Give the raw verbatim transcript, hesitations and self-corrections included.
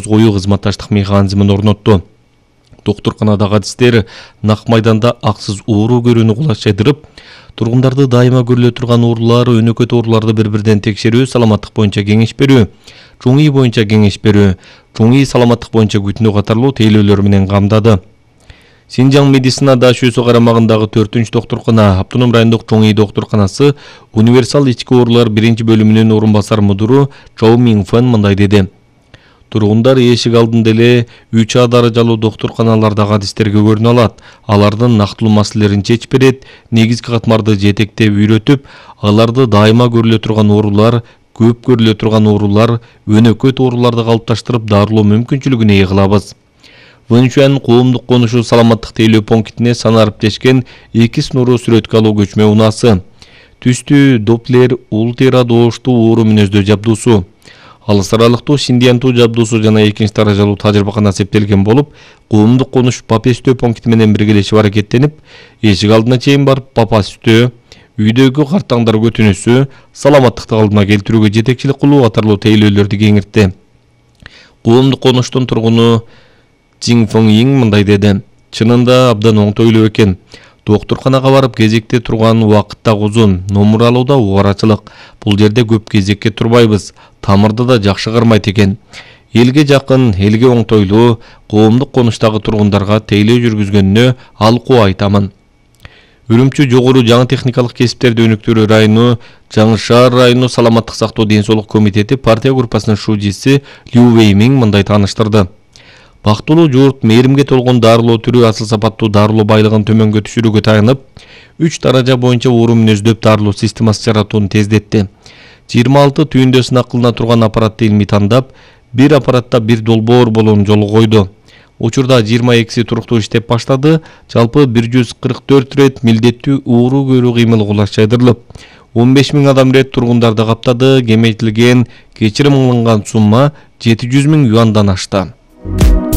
кою кызматташтык механизмин орнотту. Докторканадагы адистер нак майданда аксыз оору көрүүнү кулачайдырып, тургундарды дайыма көрүлө турган оорулар, өнөкөт ооруларды бири-бирден текшерүү, саламаттык боюнча кеңеш берүү, чоң үй боюнча кеңеш берүү, чоң үй саламаттык боюнча күтүнүү катарлуу тейлөөлөр менен камдады. Синжаң медицина ДАШОсу карамагындагы төртүнчү докторкана, Автоном райондук чоң үй докторканасы универсал ички оорулар биринчи бөлүмүнүн орун басар мудуру Чоу Минг Фэн мындай деди. Тургундар эшик алдында эле үч А даражалуу докторканалардагы адистерге көрүнө алат. Алардын нактылуу маселелерин чечип берет, негизги катмарды жетектеп үйрөтүп, аларды дайыма көрүлө турган оорулар, көп көрүлө турган оорулар, өнөкөт ооруларды калыпташтырып дарылоо мүмкүнчүлүгүнө ээ кылабыз. Вэнчуан коомдук конушу саламаттык тейлөө пунктине санарип тешкен эки снуру сүрөткө алуу көчмө унаасы. Түстүү Доплер ультра дооштуу оору мүнөздөө жабдуусу. Алыс аралыктуу Синдиантуу жабдуусу жана экинчи даражалуу тажрыйбакана септелген болуп, коомдук конуш Папестөө пункти менен биргелешип аракеттенип, эшик алдына чейин барып Папестөө, үйдөгү картаңдар көтүнүүсү, саламаттыкты калдыма келтирүүгө жетекчилик кылуу катарлуу тейлөөлөрдү кеңиртти. Коомдук конуштун тургуну Жин Фэн Йинг мындай деди. Чынында абдан оңтойлуу экен. Докторканага барып кезекте турган убакыт да узун, номер алууда убарачылык. Бул жерде көп кезекке турбайбыз. Тамырды да жакшы кармайт экен. Элге жакын, элге оңтойлуу, коомдук конуштагы тургундарга тейлөө жүргүзгөнүнө алкуу айтамын. Үрүмчү жогору жаңы техникалык кесиптерди өнүктүрүү району, Жаңы шаар району саламаттык сактоо ден-соолук комитети партия группасынын шужиси Лю Вэйминг мындай тааныштырды. Бактылуу журт мээримге толгон дарылоо түрү асыл сапаттуу дарылоо байлыгын төмөнгө түшүрүүгө таянып, үч даража боюнча оору мүнөздөп дарылоо системасы жаратууну тездетти. жыйырма алты түйүндө сынак кылына турган аппаратты илмий тандап, бир аппаратта бир долбоор болууну жолго койду. Учурда жыйырма экиси туруктуу иштеп баштады. Жалпы бир жүз кырк төрт рет милдеттүү оору көрүү кыймыл кулачайдырылып, он беш миң адам рет тургундарды каптады. Кемейтилген кечирим алынган сумма жети жүз миң юандан ашты.